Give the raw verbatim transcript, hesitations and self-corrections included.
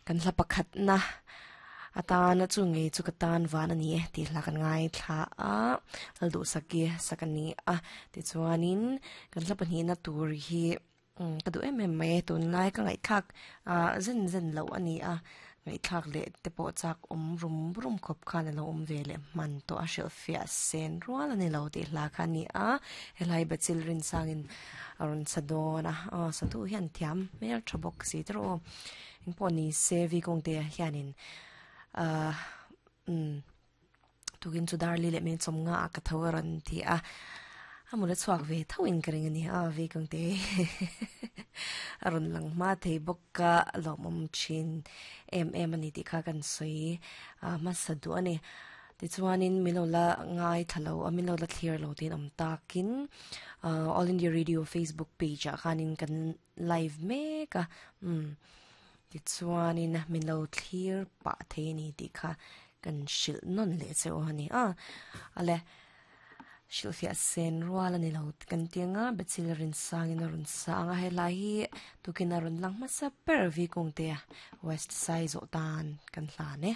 Kan hla pakhat na atana chu nge chu ka tan van ani e ti hla kan ngai thla a lal du saki sakani a ti chuanin kan hla pahnih na tur hi ka du em em mai tun lai ka ngai thak a zen zen lo ani a ngai thak le te pawh chak awm rum rum khawp khan alo awm ve leh hman tawh a hrilh fiah sen rual ani lo tih hla kha ani a helai bachil rin sangin a rawn sa dawn a aw satu hian thiam hmel tha bawk si te rawh engpawh ni se vi kawng te ah hianin ah umm tukin chu darli leh min chawm nga ah ka tho a rawn ti a a mula chhuak ve tho in ka ring a ni a vi kawng te a rawn lang hma thei bawk a lawmawm thin em em a ni tih kha kan sawi a hmasa duh a ni tichuanin min lo la ngai thla lo a min lo la thlir lo tiin awm takin ah all india radio facebook page ah khanin kan live mek a umm tichuanin min lo thlir pah thei a ni tih kha kan hrilh nawn leh che u a ni a ale hrilh fiah sen rual a ni lo kan ti anga bachil rin sangin a rawn sang a helai hi tukin a rawn lang hmasa ber vi kawng te west sai zawh tan kan hlan e.